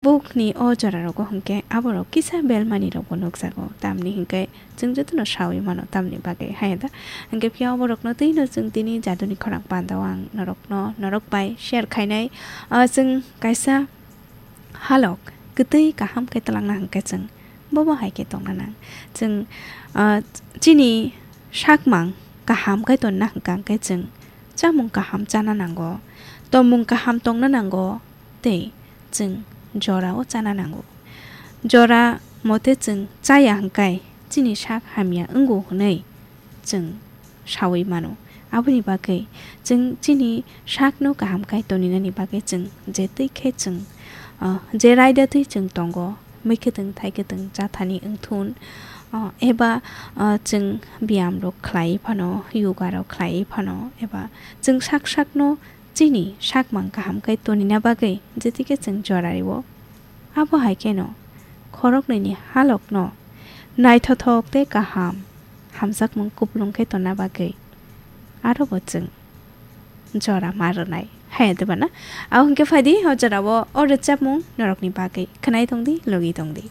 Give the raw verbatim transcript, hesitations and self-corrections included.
Bukni o jorarogo hwnkhe aborok kisa belmanirokbo nukjago, tamni hwnkhe chwng jotono saui mano tamni bagwi, haya da? Hwnkhe phiya oborokno twino chwng tini jaduni khorang pandao ang norokno, norok bai share khainai. O chwng kaisa halok kwtwi kaham khe twlangna hwnkhe chwng bobo hai khe tongna nang. Chwng, ah, chini sakmang kaham khe tonna hwnkha hwnkhe chwng chamung kaham chana nango, tongmung kaham tongna nango, tei chwng jorao chana nango. Jora mote chwng chaya hwnkhe chini sak hamya wngo hwnwi chwng saui mano. Aboni bagwi chwng chini sakno kaham khai toninani bagwi chwng je twi khe chwng, ah, je raida twi chwng tongo, mui kwtwng thai kwtwng chathani wngthun, ah, eba, ah, chwng biyam rok khlai phano, yoga rok khlai phano, eba chwng sak sakno chini sakmang kaham khai tonina bagwi je twi khe chwng jora rio. Abo hai kheno khoroknwini halokno naithothok tei kaham hamjakmung kupulung khe tonna bagwi aro bo chwng jora ma rwnai. Haya de bana? Abo hwnkhe phaidi o jorao o rwchapmung norokni bagwi khwnai tongdi, logi tongdi.